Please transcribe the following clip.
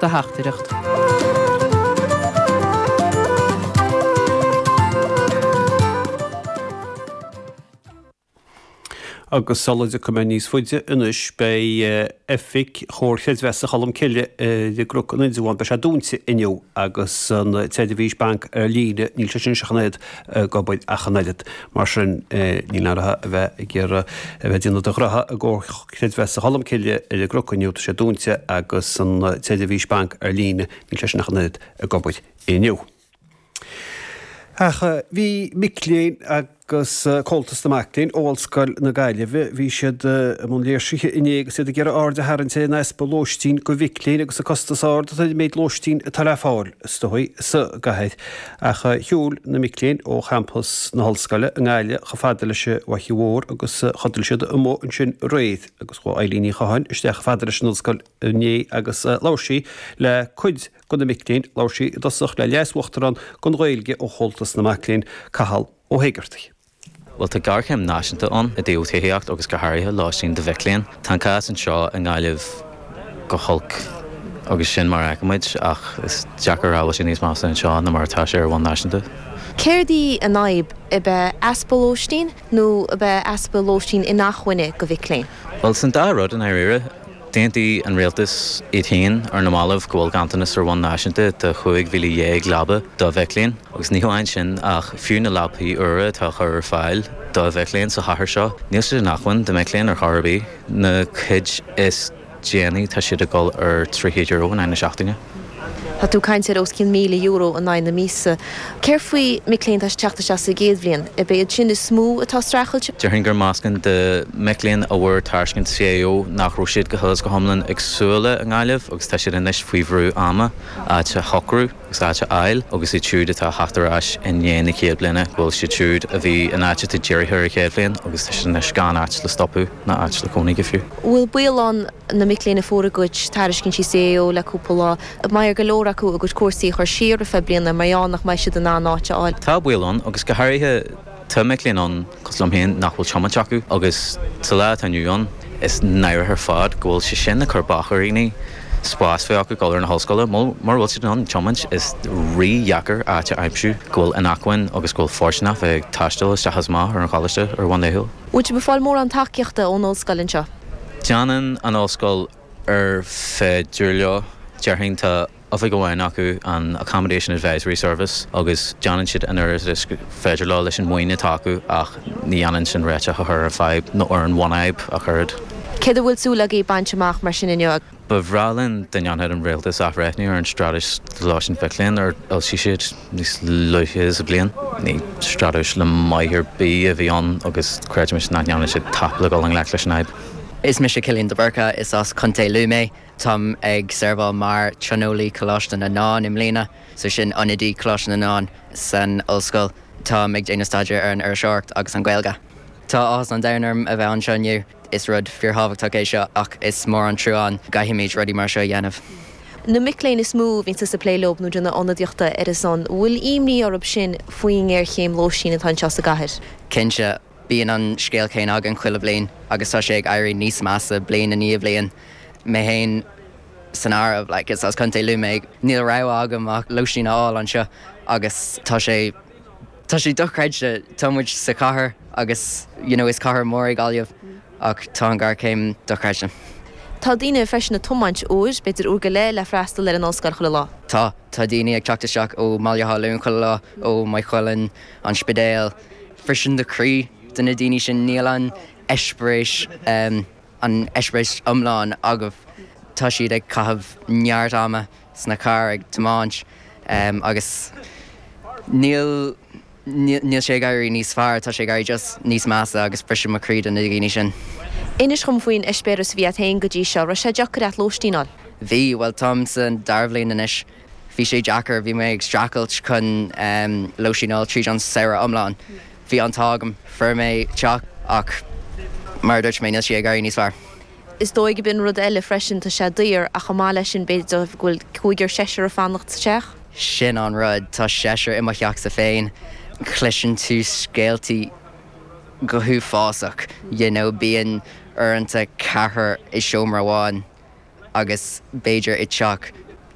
Do theachtaireacht. Agus sula dtiocfaidh mé níos faide anois, beidh oifig Chomhar Chreidmheasa Cholmcille i gCnoc an Indreabháin, beidh sé dúnta inniu agus an tseirbhís banc ar líne, níl sé sin ach an oiread ag obair ach an oiread. Mar sin, níl aon mhaith a bheith ag iarraidh a bheith ag déanamh do ghraithe i gComhar Creidmheasa Cholmcille ar an gCnoc inniu, tá sé dúnta agus an tseirbhís banc ar líne, níl sé sin ach an oiread ag obair inniu. Ach bhí mic léinn agus Comhaltas na Mac Léinn ó Ollscoil na Gaillimhe, bhí siad i mbun léirsithe inné agus iad ag iarraidh aird a tharraingt ar an easpa lóistín do mhic léinn agus an costas ard atá ar an méid lóistín atá le fáil, is dóigh, sa gcathair. Ach shiúil na mic léinn ó champas na hOllscoile i nGaillimh chomh fada leis an bhFaiche Mhór agus chodail siad amuigh ansin aréir agus chuaigh Eilín Ní Chatháin isteach chomh fada leis an Ollscoil inné agus labhair sí le cuid de na mic léinn, labhair sí i dtosach le Leas-Uachtarán don Ghaeilge ó Chomhaltas na Mac Léinn, Cathal Ó hÉigeartaigh. Bhuel, tá géarchéim náisiúnta ann i dtaobh tithíocht agus go háirithe lóistín do mhic léinn. Tá an cás anseo i nGaillimh go holc agus sin mar a fheicimid ach is deacair a rá bhfuil sé níos measa anseo ná mar atá sé ar bhonn náisiúnta. Céard í an fhadhb? Ab é easpa lóistín nó ab é easpa lóistín inacmhainne do mhic léinn? Bhuel, san dá rud i ndáiríre. D'aontaigh an rialtas iad féin ar na mallaibh go bhfuil ganntanas ar bhonn náisiúnta de 15,000 leaba do mhic léinn agus ní hamháin sin ach fiú na leapaí úra atá á chur ar fáil do mhic léinn sa chathair seo, níl siad in acmhainn do mhic léinn ar chor ar bith. Na cuid is déanaí tá siad ag dul ar €300 in aghaidh na seachtaine. Tá tú ag caint ar os cionn €1,000 in aghaidh na míosa. Céard faoi mic léinn atá ag teacht isteach sa gcéad bhliain? Ab é iad sin is mó atá ag streachailt? Déarfainn gur meascán de mhic léinn a bhfuair tairiscint CAO nach raibh siad go huile is go hiomlán ag súil le i nGaillimh agus tá siad anois faoi bhrú ama áit a shocrú agus áit a fháil agus iad siúd atá ag theacht ar ais i ndiaidh na chéad bliana go bhfuil siad siúd a bhí in áit atá dírithe ar an chéad bhliain agus tá siad anois gan áit le stopadh ná áit le cónaí go fiú. Bhfuil baol ann na mic léinn a fuair a gcuid tairiscintí CAO le cúpla lá, an mbeidh ar go leor acu a gcuid cúrsaí a chur siar ar feadh bliana mar gheall nach mbeidh siad in ann áit a fháil. Tá baol ann, agus go háirithe tá mic léinn ann, cosúil liom féin, nach bhfuil tiomáint acu agus sa lá atá inniu ann, is náireach ar fad go bhfuil sé sin ag cur bac ar dhaoine spás bheith acu dul ar na hollscoile. Mura bhfuil siad in ann tiomáint, is rí-dheacair áit a aimsiú go bhfuil in acmhainn agus go bhfuil fóirsteanach bheith ag taisteal isteach is amach ar an choláiste ar bhonn laethúil. Bhfuil sibh ag fáil mórán tacaíochta ón ollscoil anseo? Déanann an ollscoil ar féidir leo. Déarfainn tá oifig amháin acu, an Accommodation Advisory Service, agus déanann siad an oiread is féidir leo leis an maoin atá acu ach ní dhéanann sin réiteach a chur ar an fadhb nó ar an bhunfhadhb ach oiread. Céard a bhfuil súil agaibh baint amach mar sin inniu? Ba bhreá linn dá ndéanfadh an rialtas athbhreithniú ar an straitéis do lóistín mhic léinn ar fhoilsigh siad níos luaithe sa bhliain. Ní straitéis le maith ar bith a bhí ann agus creidimid nach ndéanann siad tapa le dul i ngleic leis an fhadhb. Is mise Cillian de Búrca, is as Contae Lú mé. Táim ag seirbheáil mar Tionólaí Coláiste na nDán i mbliana, so sin ionadaí Coláiste na nDán san ollscoil. Táim ag déanamh staidéir ar an iriseoireacht agus an Ghaeilge. Tá áthas an domhain orm a bheith anseo inniu. Is rud fíorthábhachtach é seo ach is mór an trua an gcaithfimid rudaí mar seo a dhéanamh. Na mic léinn is mó a bhíonn tusa ag plé leo nó déanamh ionadaíochta ar a son, bhfuil imní orthu sin faoin ngéarchéim lóistín atá anseo sa gcathair? Cinnte, bíonn an scéal céanna againn chuile bhliain agus tá sé ag éirí níos measa bliain i ndiaidh bhliain. Mé féin san áireamh, like, is as Contae Lú mé, níl rogha agam ach lóistín a fháil anseo agus tá sé, Tá sé dochreidte, tá muid sa chathair agus you know is cathair mór é Gaillimh ach tá an ghéarchéim dochreidte. Tá daoine freisin ag tiomáint uair, b'fhéidir uair go leith le freastal ar an ollscoil chuile lá. Tá, tá daoine ag teacht isteach ó mBaile Átha Luain chuile lá, ó Maigh Cuilinn, An Spidéal. Briseann do chroí do na daoine sin, níl an eispéireas, an eispéireas iomlán acu. Tá siad ag caitheamh neart ama sna cairr ag tiomáint agus níl, níl sé ag éirí níos fearr, tá sé ag éirí just níos measa agus briseann mo chroí do na daoine sin. Inis dhom faoin eispéireas a bhí a't féin go dtí seo, raibh sé deacair a't lóistín a fháil? Bhí, bhuel táim sa dara bhliain anois, bhí sé deacair, bhí mé ag streachailt chun lóistín a fháil tríd an samhradh iomlán. Bhí an t-ádh agam, fuair mé teach ach mar a dúirt mé níl sé ag éirí níos fearr. Is dóigh gurb in rud eile freisin, tá sé daor ach chomh maith leis sin b'fhéidir go bhfuil cúigear, seisear ag fanacht sa teach? Sin an rud, tá seisear i mo theachsa féin, cloiseann tú scéaltaí go huafásach, you know, bíonn uaireanta ceathrar i seomra amháin agus b'fhéidir i dteach.